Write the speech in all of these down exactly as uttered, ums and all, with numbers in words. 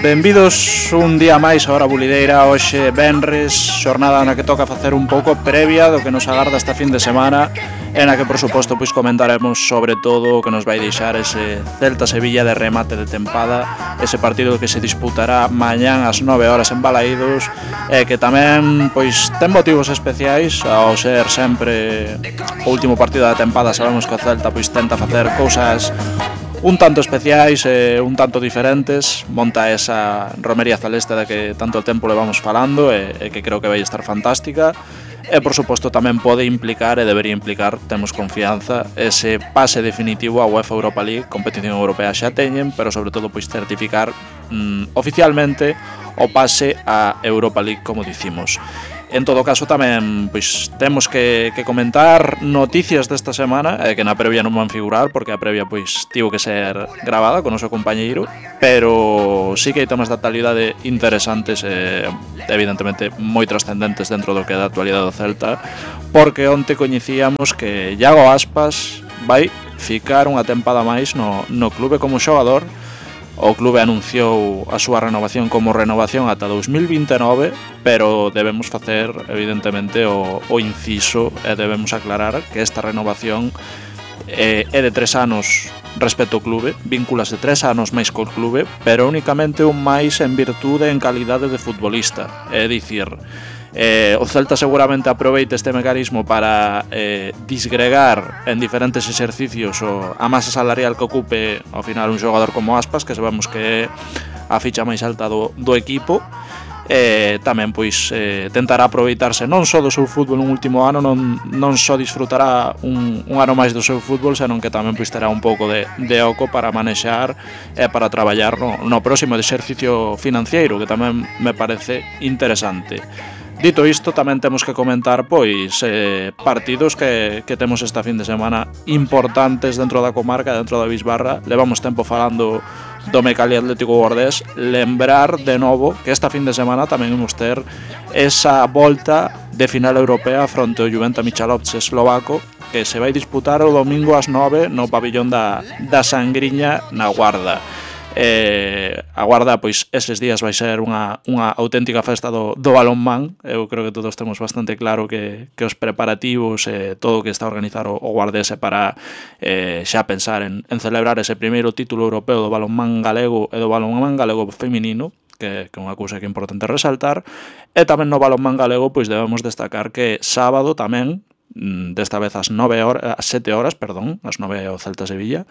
Benvidos un día máis a Hora Bulideira. Hoxe venres, xornada na que toca facer un pouco previa do que nos agarda esta fin de semana, e na que, por suposto, pois comentaremos sobre todo o que nos vai deixar ese Celta-Sevilla de remate de tempada, ese partido que se disputará mañán ás nove horas en Balaídos, e que tamén pois ten motivos especiais ao ser sempre o último partido da tempada. Sabemos que o Celta pois tenta facer cousas un tanto especiais e un tanto diferentes. Monta esa romería celeste da que tanto tempo levamos falando e, e que creo que vai estar fantástica, e por suposto tamén pode implicar e debería implicar, temos confianza, ese pase definitivo á UEFA Europa League. Competición europea xa teñen, pero sobre todo pois certificar mm, oficialmente o pase á Europa League, como dicimos. En todo caso, tamén pois temos que, que comentar noticias desta semana, eh, que na previa non van figurar, porque a previa pois tivo que ser gravada con o seu compañeiro, pero sí que hai temas de actualidade interesantes e evidentemente moi trascendentes dentro do que é da actualidade do Celta, porque onte coñecíamos que Iago Aspas vai ficar unha tempada máis no, no clube como xogador. O clube anunciou a súa renovación como renovación ata dous mil vinte e nove, pero debemos facer, evidentemente, o, o inciso e debemos aclarar que esta renovación é, é de tres anos respecto ao clube, vínculase tres anos máis co clube, pero únicamente un máis en virtude en calidade de futbolista. É dicir, Eh, o Celta seguramente aproveita este mecanismo para eh, disgregar en diferentes exercicios o, a masa salarial que ocupe ao final un xogador como Aspas, que sabemos que é a ficha máis alta do, do equipo. E tamén pois eh, tentará aproveitarse non só do seu fútbol no último ano, non, non só disfrutará un, un ano máis do seu fútbol, senón que tamén pois terá un pouco de, de oco para manexar e para traballar no, no próximo exercicio financiero, que tamén me parece interesante. Dito isto, tamén temos que comentar pois eh, partidos que, que temos esta fin de semana importantes dentro da comarca, dentro da Bisbarra. Levamos tempo falando do Mecali Atlético Guardés. Lembrar de novo que esta fin de semana tamén imos ter esa volta de final europea fronte ao Juventa Michalovce eslovaco, que se vai disputar o domingo ás nove no pabillón da, da Sangriña na Guarda. Eh, a Guarda, pois, eses días vai ser unha, unha auténtica festa do, do balonmán. Eu creo que todos temos bastante claro que, que os preparativos e eh, todo o que está a organizar o, o Guardés é para eh, xa pensar en, en celebrar ese primeiro título europeo do balonmán galego e do balonmán galego feminino, que, que é unha cousa que é importante resaltar. E tamén no balonmán galego pois debemos destacar que sábado tamén, desta vez ás nove horas, ás sete horas, perdón, ás nove o Celta Sevilla,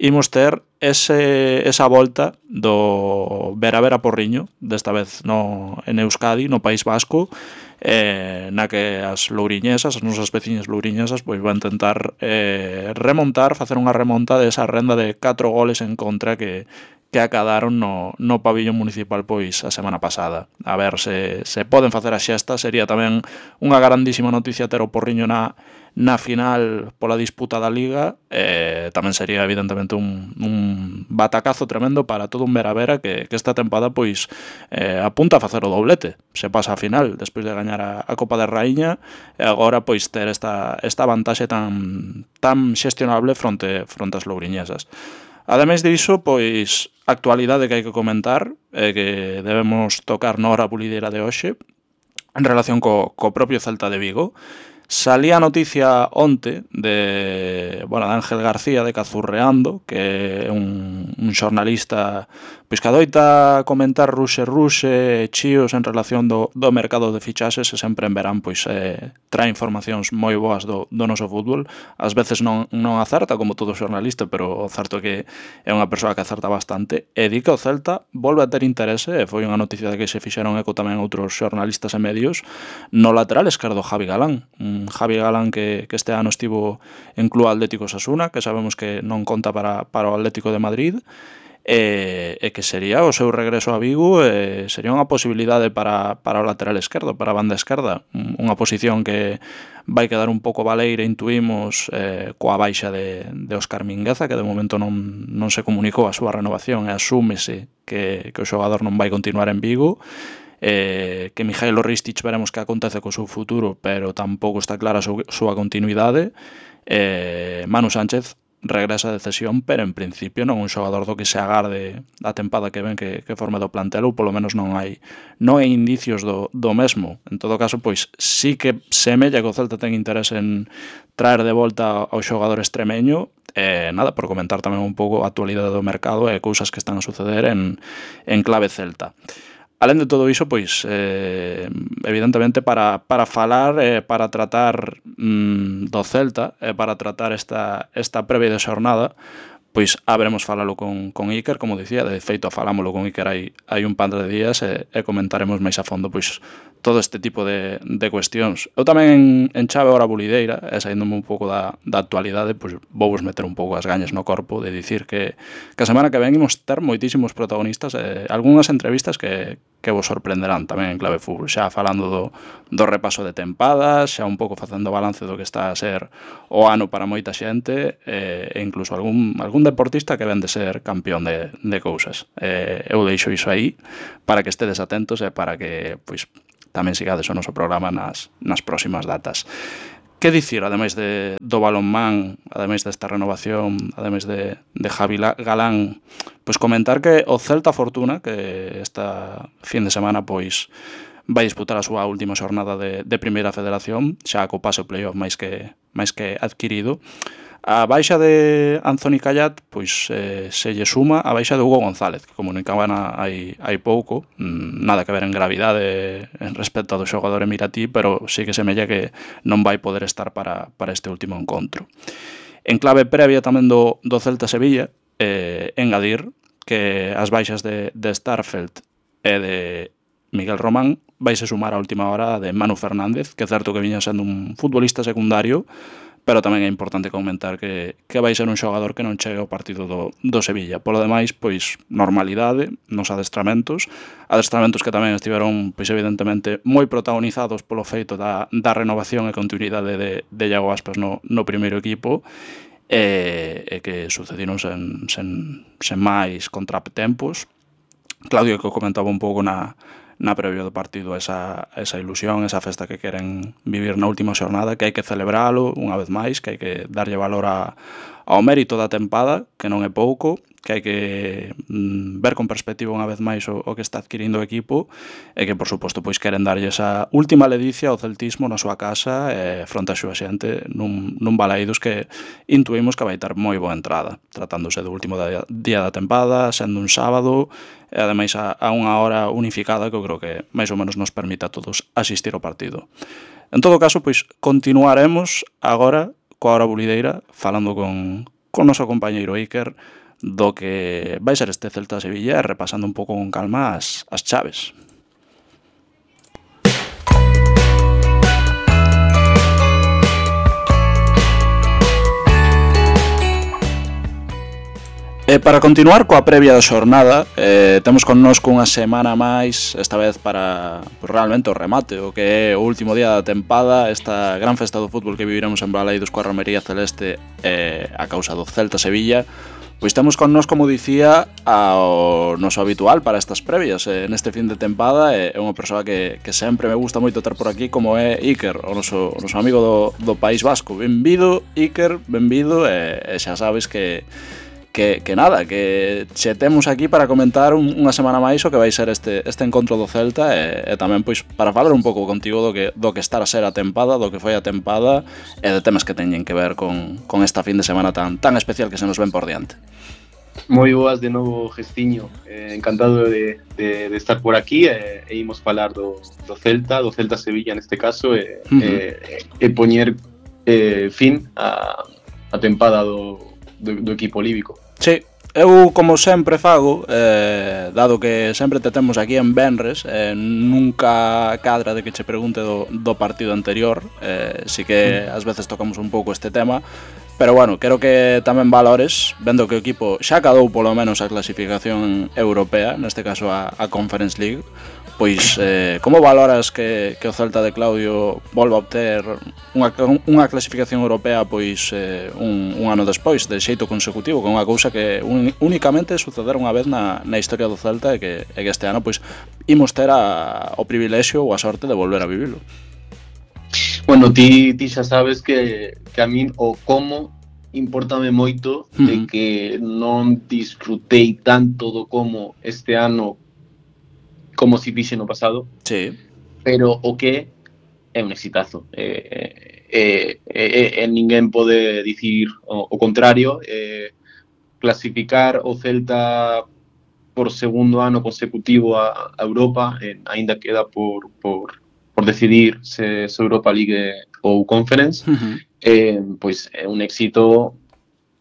imos ter ese, esa volta do Vera Vera Porriño, desta vez no, en Euskadi, no País Vasco, eh, na que as louriñesas, as nosas veciñas louriñesas, pois van tentar eh, remontar, facer unha remonta desa renda de catro goles en contra que que acadaron no, no pabillón municipal pois a semana pasada. A ver se, se poden facer a xesta. Sería tamén unha grandísima noticia ter o Porriño na, na final pola disputa da Liga. Eh, tamén sería evidentemente un, un batacazo tremendo para todo un Vera-Vera que, que esta tempada pois eh, apunta a facer o doblete. Se pasa a final despois de gañar a, a Copa de Raíña, e agora pois ter esta, esta vantaxe tan, tan xestionable fronte, fronte ás louriñesas. Ademais diso, pois, actualidade que hai que comentar e que debemos tocar na hora bulideira de hoxe en relación co, co propio Celta de Vigo. Salía a noticia onte de, bueno, de Ángel García de Cazurreando, que é un, un xornalista pois que adoita comentar ruxe ruxe chíos en relación do, do mercado de fichaxes, e sempre en verán pois eh, trae informacións moi boas do, do noso fútbol. Ás veces non, non acerta, como todo xornalista, pero o certo é que é unha persoa que acerta bastante, e di que o Celta volve a ter interese, e foi unha noticia de que se fixeron eco tamén outros xornalistas e medios, no lateral esquerdo Javi Galán. Un Javi Galán que, que este ano estivo en Club Atlético Osasuna, que sabemos que non conta para, para o Atlético de Madrid, e, e que sería o seu regreso a Vigo, e sería unha posibilidade para, para o lateral esquerdo, para a banda esquerda, unha posición que vai quedar un pouco baleira, intuímos, eh, coa baixa de, de Óscar Mingueza, que de momento non, non se comunicou a súa renovación, e asúmese que, que o xogador non vai continuar en Vigo. Eh, que Mijailo Ristic veremos que acontece co seu futuro, pero tampouco está clara a súa continuidade. eh, Manu Sánchez regresa de cesión, pero en principio non un xogador do que se agarde a tempada que ven que, que forme do plantel, ou polo menos non hai non hai indicios do, do mesmo. En todo caso, pois sí que semella que o Celta ten interés en traer de volta ao xogador extremeño. E nada, por comentar tamén un pouco a actualidade do mercado e cousas que están a suceder en, en clave celta. Alén de todo iso, pois, eh, evidentemente, para, para falar, eh, para tratar mm, do Celta, e eh, para tratar esta, esta previa de xornada, pois haberemos falalo con, con Iker, como dicía, de feito falámoslo con Iker hai, hai un par de días e, e comentaremos máis a fondo pois todo este tipo de, de cuestións. Eu tamén en, en chave hora bulideira, e saíndome un pouco da, da actualidade, pois vou vos meter un pouco as gañas no corpo de dicir que, que a semana que ven imos ter moitísimos protagonistas e algunhas entrevistas que, que vos sorprenderán tamén en clave fútbol, xa falando do, do repaso de tempadas, xa un pouco facendo balance do que está a ser o ano para moita xente e, e incluso algún, algún deportista que ven de ser campeón de, de cousas. Eh, eu deixo iso aí para que estedes atentos e para que pois tamén sigades o noso programa nas, nas próximas datas. Que dicir, ademais de, do balonmán, ademais desta renovación, ademais de, de Javi Galán, pois comentar que o Celta Fortuna, que esta fin de semana pois vai disputar a súa última xornada de, de Primeira Federación, xa co pase o playoff máis que, máis que adquirido. A baixa de Anthony Callat pois eh, se lle suma a baixa de Hugo González, que comunicaban hai, hai pouco, nada que ver en gravidade en respecto ao xogador emiratí, pero sí que semella que non vai poder estar para, para este último encontro. En clave previa tamén do, do Celta Sevilla, eh, engadir que as baixas de, de Starfelt e de Miguel Román vaise sumar a última hora de Manu Fernández, que é certo que viña sendo un futbolista secundario, pero tamén é importante comentar que, que vai ser un xogador que non chegue ao partido do, do Sevilla. Polo demais, pois, normalidade nos adestramentos, adestramentos que tamén estiveron, pois, evidentemente, moi protagonizados polo feito da, da renovación e continuidade de, de Iago Aspas no, no primeiro equipo, e, e que sucediron sen, sen, sen máis contratempos. Claudio, que comentaba un pouco na na previo do partido esa, esa ilusión, esa festa que queren vivir na última xornada, que hai que celebralo unha vez máis, que hai que darlle valor a, ao mérito da tempada, que non é pouco, que hai que mm, ver con perspectiva unha vez máis o, o que está adquirindo o equipo e que, por suposto, pois queren darlle esa última ledicia ao celtismo na súa casa e fronte a súa xente nun, nun Balaídos que intuímos que vai ter moi boa entrada, tratándose do último día, día da tempada, sendo un sábado e ademais a, a unha hora unificada que eu creo que máis ou menos nos permite a todos asistir ao partido. En todo caso, pois continuaremos agora coa hora bulideira falando con, con noso compañeiro Iker do que vai ser este Celta Sevilla e repasando un pouco con calma as, as chaves. E para continuar coa previa da xornada, eh, temos connosco unha semana máis, esta vez para pues, realmente o remate, o que é o último día da tempada, esta gran festa do fútbol que viviremos en Balaídos coa Romería Celeste eh, a causa do Celta Sevilla. Pois temos con nós, como dicía, ao noso habitual para estas previas eh, neste fin de tempada, é eh, unha persoa que, que sempre me gusta moito ter por aquí, como é Iker, o noso, o noso amigo do, do País Vasco. Benvido, Iker, benvido, e, e xa sabes que Que, que nada, que che temos aquí para comentar un, unha semana máis o que vai ser este, este encontro do Celta e, e tamén pois para falar un pouco contigo do que, do que estar a ser a tempada, do que foi a tempada e de temas que teñen que ver con, con esta fin de semana tan, tan especial que se nos ven por diante. Moi boas de novo, Gestiño, eh, encantado de, de, de estar por aquí e, e imos falar do, do Celta, do Celta Sevilla neste caso e, uh-huh. e, e poñer eh, fin a, a tempada do, do, do equipo líbico. Sí, eu como sempre fago, eh, dado que sempre te temos aquí en Benres, eh, nunca cadra de que che pregunte do, do partido anterior, eh, si que ás veces tocamos un pouco este tema, pero bueno, quero que tamén valores, vendo que o equipo xa cadou polo menos a clasificación europea, neste caso a, a Conference League, pois eh, como valoras que, que o Celta de Claudio volva a obter unha, unha clasificación europea pois eh, un, un ano despois, de xeito consecutivo, con unha cousa que un, únicamente sucedera unha vez na, na historia do Celta e que, e que este ano pois imos ter a, o privilexio ou a sorte de volver a vivilo? Bueno, ti, ti xa sabes que, que a min o como importame moito de que non disfrutei tanto do como este ano como si fixe no pasado. Sí. Pero o que é un exitazo. Eh, eh, eh, eh, ninguén pode dicir o, o contrario. Eh, clasificar o Celta por segundo ano consecutivo a, a Europa, eh, aínda queda por, por, por decidir se, se Europa League ou Conference, Uh-huh. eh, pois é un éxito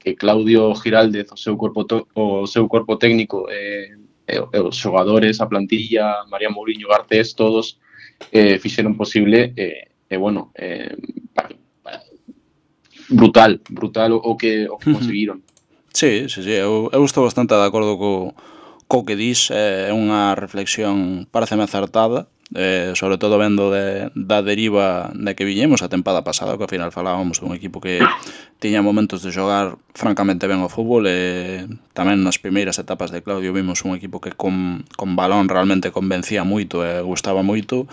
que Claudio Giraldez, o seu corpo, to, o seu corpo técnico, eh, e, e os xogadores, a plantilla, María Mourinho, Garcés, todos eh, fixeron posible, e eh, eh, bueno, eh, pa, pa, brutal, brutal o, o que, o que Uh-huh. conseguiron. Sí, sí, sí, eu, eu estou bastante de acordo co, co que dis, é unha reflexión pareceme acertada, eh, sobre todo vendo de, da deriva de que viñemos a tempada pasada, que ao final falábamos dun equipo que tiña momentos de xogar francamente ben o fútbol, e tamén nas primeiras etapas de Claudio vimos un equipo que con, con balón realmente convencía moito e gustaba moito.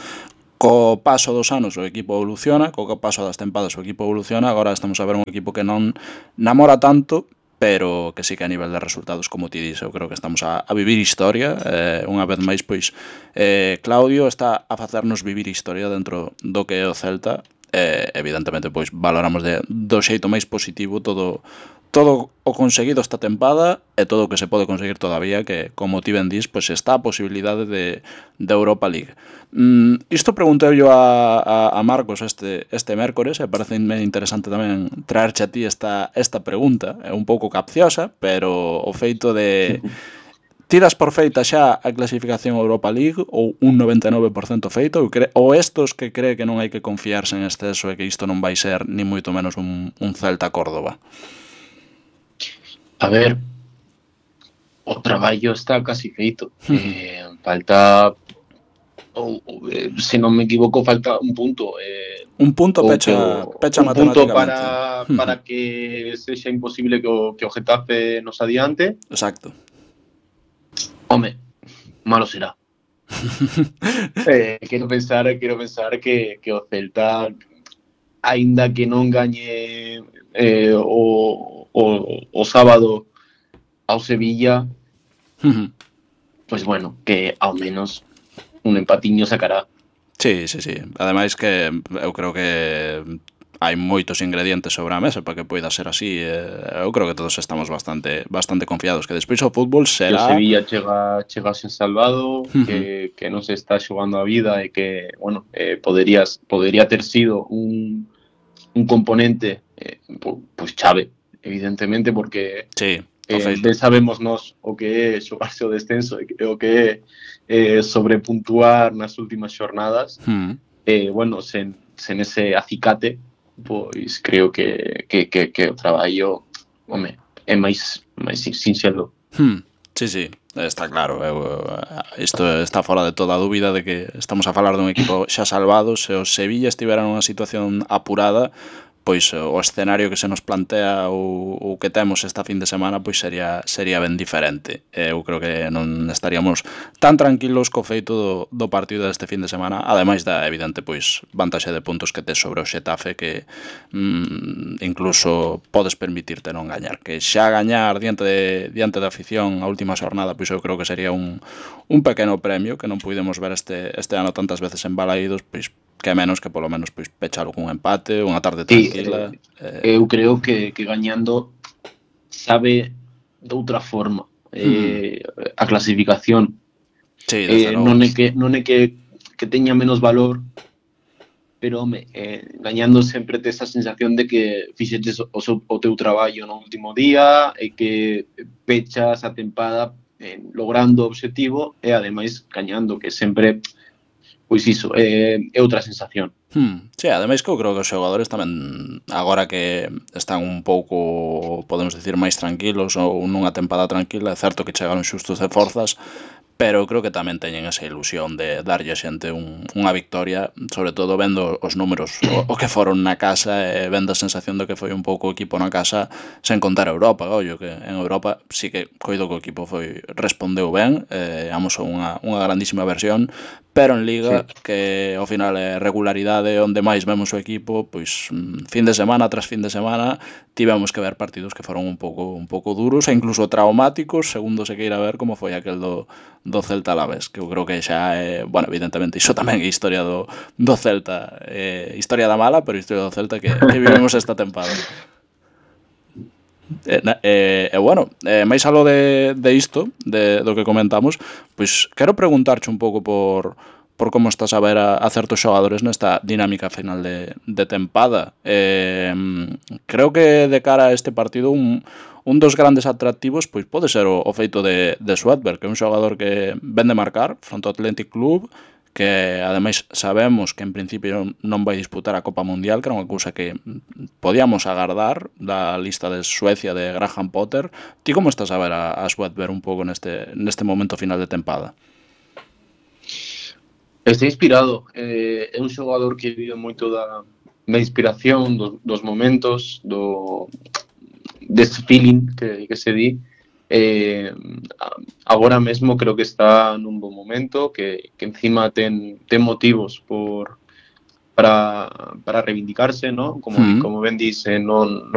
Co paso dos anos o equipo evoluciona, co paso das tempadas o equipo evoluciona, agora estamos a ver un equipo que non namora tanto, pero que sí que a nivel de resultados, como ti dis, eu creo que estamos a, a vivir historia. Eh, unha vez máis, pois, eh, Claudio está a facernos vivir historia dentro do que é o Celta. Eh, evidentemente, pois, valoramos de, do xeito máis positivo todo todo o conseguido esta tempada e todo o que se pode conseguir todavía, que, como ti ben dis, pois está a posibilidade de, de Europa League. Mm, isto preguntei yo a, a, a Marcos este, este mércores, e parece interesante tamén traerche a ti esta, esta pregunta, é un pouco capciosa, pero o feito de... Tiras por feita xa a clasificación Europa League ou un noventa e nove por cento feito, ou, cre... ou estos que cree que non hai que confiarse en exceso e que isto non vai ser ni moito menos un, un Celta Córdoba? A ver, o traballo está casi feito. Eh, falta, ou, ou, eh, se non me equivoco, falta un punto. Eh, un punto pecha, o, pecha un punto matemáticamente. para, para que sexa imposible que o, que o Getafe nos adiante. Exacto. Home, malo será. eh, quero pensar, quero pensar que, que o Celta, aínda que non gañe eh, o O, o sábado ao Sevilla, uh-huh. Pois bueno, que ao menos un empatiño sacará. Sí, sí, sí. Ademais que eu creo que hai moitos ingredientes sobre a mesa para que poida ser así. Eu creo que todos estamos bastante bastante confiados que despois o fútbol será... Que o Sevilla chega, chega sen salvado, uh-huh. que, que non se está xogando a vida e que, bueno, eh, poderías, podería ter sido un, un componente eh, pois chave, evidentemente, porque sí, eh, ben sabemos nós o que é xogarse o descenso e o que é eh, sobrepuntuar nas últimas xornadas. Hmm. Eh, bueno, sen, sen ese acicate, pois creo que, que, que, que o traballo, home, é máis, máis sinxelo. Hmm. Sí, sí, está claro. Eu, isto está fora de toda a dúbida de que estamos a falar dun equipo xa salvado. Se o Sevilla estivera nunha situación apurada, pois o escenario que se nos plantea ou o que temos esta fin de semana pois sería sería ben diferente. Eu creo que non estaríamos tan tranquilos co feito do, do partido deste fin de semana, ademais da evidente pois vantaxe de puntos que tes sobre o Xetafe, que mm, incluso podes permitirte non gañar, que xa gañar diante de, diante da afición a última xornada, pois eu creo que sería un, un pequeno premio que non pudemos ver este, este ano tantas veces en Balaídos, pois que menos que polo menos pois pechalo cun empate, unha tarde tranquila. Sí, eh, eu creo que, que gañando sabe de outra forma eh, mm. a clasificación. Sí, eh, non é que non é que, que teña menos valor, pero home, eh, gañando sempre te esa sensación de que fixeches o, seu, o teu traballo no último día e que pechas a tempada eh, logrando o obxectivo e ademais gañando, que sempre pois iso, é, é outra sensación. Hmm, sí, ademais que eu creo que os xogadores tamén, agora que están un pouco, podemos dicir, máis tranquilos ou nunha tempada tranquila, é certo que chegaron xustos de forzas, pero creo que tamén teñen esa ilusión de darlle a xente un, unha victoria, sobre todo vendo os números o, o que foron na casa e vendo a sensación de que foi un pouco o equipo na casa sen contar a Europa, ollo, que en Europa sí que coido que o equipo foi respondeu ben, eh, amosou unha, unha grandísima versión, pero en Liga, Sí. que ao final é regularidade onde máis vemos o equipo, pois fin de semana tras fin de semana tivemos que ver partidos que foron un pouco un pouco duros e incluso traumáticos, segundo se queira ver, como foi aquel do, do Celta Alavés, que eu creo que xa é, bueno, evidentemente iso tamén é historia do, do Celta, eh, historia da mala, pero historia do Celta que, que vivimos esta tempada. E, e, e bueno, eh, máis algo de, de isto, de, do que comentamos, pois quero preguntarche un pouco por, por como estás a ver a, a certos xogadores nesta dinámica final de, de tempada. Eh, creo que de cara a este partido un, un dos grandes atractivos pois pode ser o, o feito de, de Swadberg, que é un xogador que ven de marcar fronte ao Athletic Club, que ademais sabemos que en principio non vai disputar a Copa Mundial, que era unha cousa que podíamos agardar da lista de Suecia de Graham Potter. Ti como estás a ver a, a Swadberg un pouco neste, neste momento final de tempada? Está inspirado, eh, é un xogador que vive moito da, da inspiración, dos, dos momentos, do desse feeling que, que se di. Eh, agora mesmo creo que está nun bon momento, que, que encima ten, ten motivos por para, para reivindicarse, ¿no? Como, Mm. como ben dice, non, non